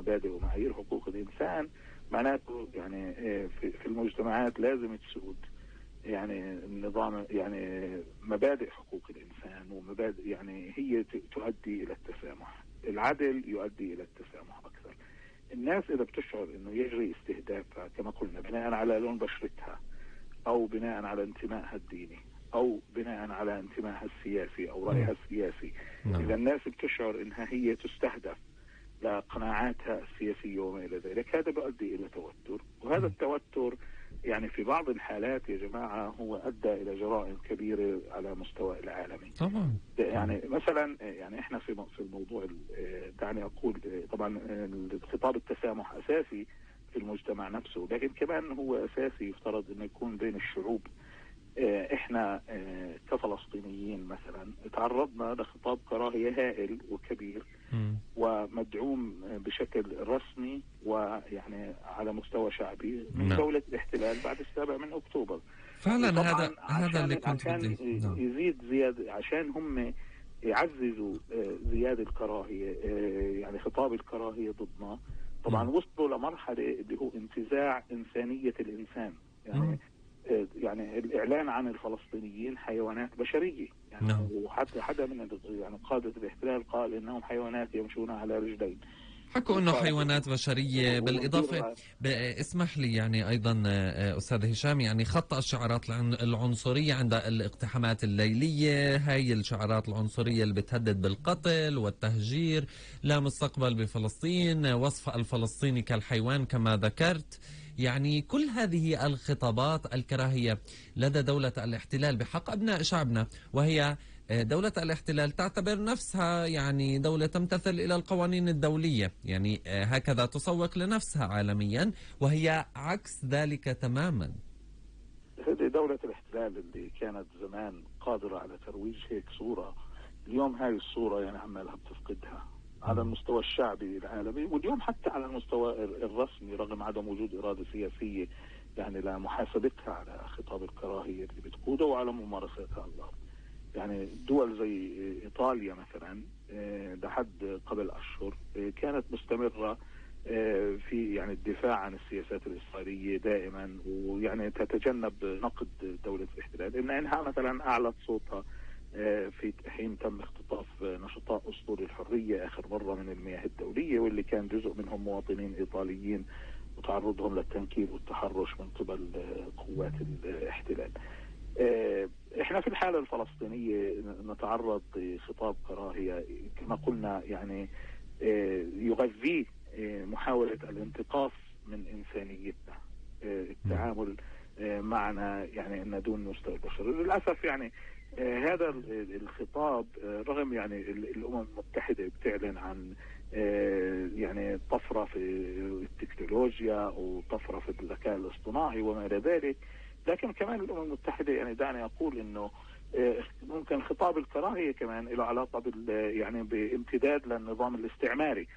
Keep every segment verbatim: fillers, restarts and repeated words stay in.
مبادئ ومعايير حقوق الإنسان، معناته يعني في المجتمعات لازم تسود يعني النظام، يعني مبادئ حقوق الإنسان ومبادئ يعني هي تؤدي إلى التسامح. العدل يؤدي إلى التسامح أكثر. الناس إذا بتشعر إنه يجري استهدافها كما قلنا بناء على لون بشرتها أو بناء على انتمائها الديني أو بناء على انتمائها السياسي أو رأيها السياسي، إذا الناس بتشعر إنها هي تستهدف لقناعاتها السياسية وما إلى ذلك، هذا بيؤدي إلى توتر، وهذا التوتر يعني في بعض الحالات يا جماعة هو أدى إلى جرائم كبيرة على مستوى العالمي. طبعا يعني مثلا يعني إحنا في في الموضوع دعني أقول طبعا خطاب التسامح أساسي في المجتمع نفسه، لكن كمان هو أساسي يفترض أنه يكون بين الشعوب. إحنا كفلسطينيين مثلا تعرضنا لخطاب كراهية هائل وكبير م. ومدعوم بشكل رسمي ويعني على مستوى شعبي من م. دولة الاحتلال بعد السابع من أكتوبر. فعلا هذا هذا اللي كنت عشان يزيد زيادة، عشان هم يعززوا زيادة الكراهية، يعني خطاب الكراهية ضدنا. طبعا م. وصلوا لمرحلة اللي هو انتزاع إنسانية الإنسان، يعني م. يعني الإعلان عن الفلسطينيين حيوانات بشرية، يعني no. وحتى حدا من يعني قادة الاحتلال قال إنهم حيوانات يمشون على رجلين، حكوا انه حيوانات بشريه. بالاضافه اسمح لي يعني ايضا استاذ هشام، يعني خطأ الشعارات العنصريه عند الاقتحامات الليليه، هاي الشعارات العنصريه اللي بتهدد بالقتل والتهجير، لا مستقبل بفلسطين، وصف الفلسطيني كالحيوان كما ذكرت، يعني كل هذه الخطابات الكراهيه لدى دوله الاحتلال بحق ابناء شعبنا، وهي دولة الاحتلال تعتبر نفسها يعني دولة تمتثل إلى القوانين الدولية، يعني هكذا تسوق لنفسها عالميا، وهي عكس ذلك تماما. هذه دولة الاحتلال اللي كانت زمان قادرة على ترويج هيك صورة، اليوم هاي الصورة يعني عمالها بتفقدها على المستوى الشعبي العالمي، واليوم حتى على المستوى الرسمي رغم عدم وجود إرادة سياسية يعني لمحاسبتها على خطاب الكراهية اللي بتقوده وعلى ممارستها على الأرض. يعني دول زي إيطاليا مثلا لحد قبل أشهر كانت مستمرة في يعني الدفاع عن السياسات الإسرائيلية دائما، ويعني تتجنب نقد دولة الاحتلال، إن إنها مثلا أعلت صوتها في حين تم اختطاف نشطاء أسطول الحرية آخر مرة من المياه الدولية، واللي كان جزء منهم مواطنين إيطاليين وتعرضهم للتنكيل والتحرش من قبل قوات الاحتلال. احنا في الحالة الفلسطينية نتعرض لخطاب كراهية كما قلنا يعني يغذيه محاولة الانتقاص من إنسانيتنا، التعامل معنا يعني أن دون مستوى البشر. للأسف يعني هذا الخطاب رغم يعني الأمم المتحدة بتعلن عن يعني طفرة في التكنولوجيا وطفرة في الذكاء الاصطناعي وما إلى ذلك، لكن كمان الأمم المتحدة يعني دعني أقول إنه ممكن خطاب الكراهية كمان له علاقة بال يعني بامتداد للنظام الاستعماري.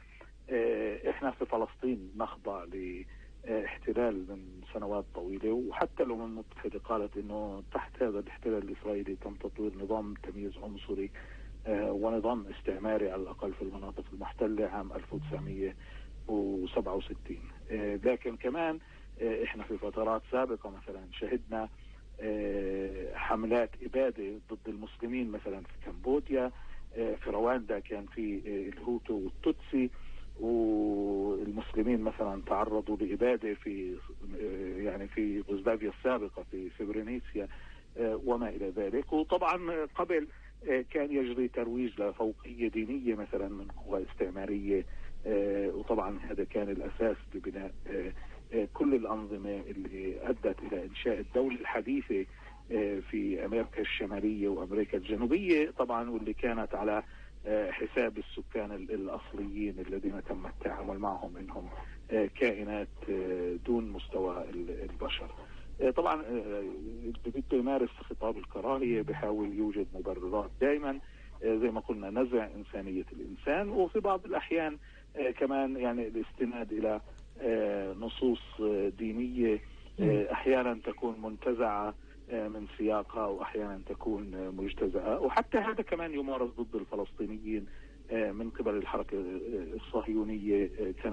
إحنا في فلسطين نخضع لاحتلال من سنوات طويلة، وحتى الأمم المتحدة قالت إنه تحت هذا الاحتلال الإسرائيلي تم تطوير نظام تمييز عنصري ونظام استعماري على الأقل في المناطق المحتلة عام ألف وتسعمية وسبعة وستين. لكن كمان احنا في فترات سابقة مثلا شهدنا حملات إبادة ضد المسلمين مثلا في كمبوديا، في رواندا كان في الهوتو والتوتسي، والمسلمين مثلا تعرضوا لإبادة في يعني في يوغوسلافيا السابقة في سيبرينيسيا وما إلى ذلك. وطبعا قبل كان يجري ترويج لفوقية دينية مثلا من قوى استعمارية، وطبعا هذا كان الأساس لبناء كل الأنظمة اللي أدت إلى إنشاء الدولة الحديثة في أمريكا الشمالية وأمريكا الجنوبية طبعا، واللي كانت على حساب السكان الأصليين الذين تم التعامل معهم إنهم كائنات دون مستوى البشر. طبعا بده يمارس خطاب الكراهية بحاول يوجد مبررات دائما زي ما قلنا نزع إنسانية الإنسان، وفي بعض الأحيان كمان يعني الاستناد إلى نصوص دينية أحيانا تكون منتزعة من سياقها وأحيانا تكون مجتزأة، وحتى هذا كمان يمارس ضد الفلسطينيين من قبل الحركة الصهيونية. كانت